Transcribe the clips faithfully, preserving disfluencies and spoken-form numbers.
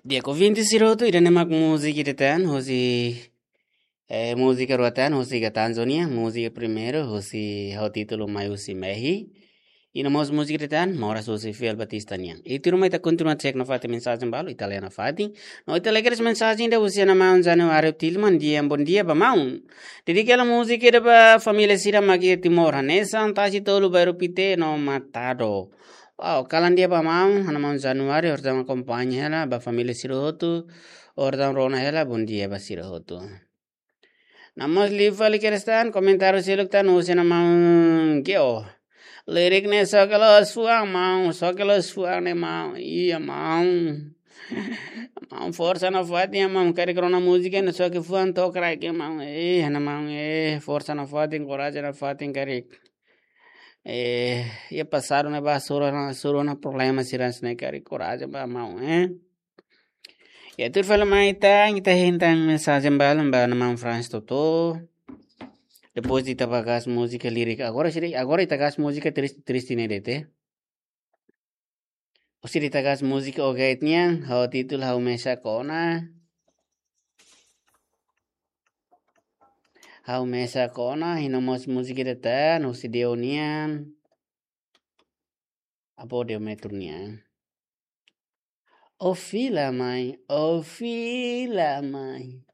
Di'ak, ouvinte sira hotu, ida-ne'e mak múzika ida tan, husi, eh, múzika rua tan, husi Gatanzo nian, múzika primeiru, husi, ho títulu Mai Husi Mehi. I no mós múzika ida tan, Moras husi Fiel Batista nian. I tuirmai ita kontinua cek nafatin mensajen balu, ita lee nafatin. No ita lee kedas mensajen ida husi ana maun Januário Tilman, di'ak, bondia ba maun. Dedika hela múzika ida ba família sira mak iha Timor, hanesan Tasi Tolu, Bairru Pité no Matado. Wow, kalan di'ak ba maun, ana maun Januário, orsida akompaña hela, ba família sira hotu, orsida rona hela, bondia ba sira hotu. No mós liu fali kedas tan, komentáriu seluk tan, husi ana maun Geo. Lirik ne'e xoke loos fuan maun, xoke loos fuan ne'e maun, iya maun. Maun forsa nafatin maun, karik rona múzika ne'e xoke fuan to'o kraik maun, eh, ana maun, eh, forsa nafatin, korajen nafatin karik. Eh, iha pasadu ne'ebá hasoru ona, hasoru ona problema sira hanesan ne'e karik, korajen ba maun, eh. Ya, tuir fali mai ita, ita hein tan mensajen balu ba ana maun Franz Toto. Depois ita bá gas múzika lirik. Agora sira, agora ita gas múzika triste, triste ne'e de'it. Orsida ita gas múzika Ogait nian, ho títulu Ha'u Mesak Ona. Ha'u Mesak Ona, i no mós múzika ida tan, husi Deo nian. Avó Deo Metro nian. Ó fila mai, ó fila mai.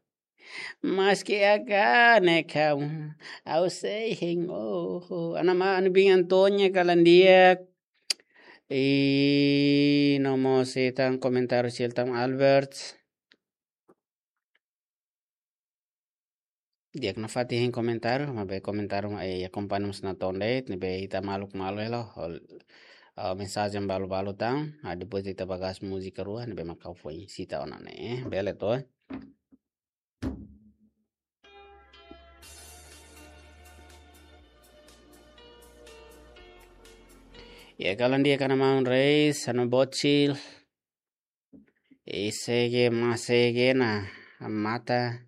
Maske ha'u ne'e kaun, ha'u sei hein ó. Ana maun, ana biin Antónia, kalan di'ak. I no mós sei tan komentáriu seluk tan Albert. Di'ak, nafatin hein komentáriu, maibé komentáriu, eh, akompaña mós natoon de'it, ne'ebé ita maluk malu hela, hol, ah, mensajen balu-balu tan, ah, depois ita bá gas múzika rua, ne'ebé mak ha'u foin sita ona ne'e, eh, bele to, eh. Ya, kalan di'ak ana maun Reis, anu bocil. I segue, mas segue na mata.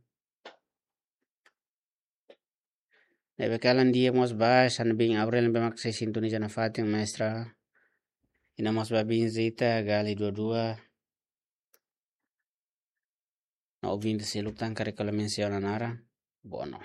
Ne'ebé kalan di'ak mós ba, ana biin Aurel ne'ebé mak sei sintoniza nafatin mestra. I no mós ba biin Zita, Gali dua dua. No ouvinte seluk tan karik ha'u la mensiona naran. Bueno.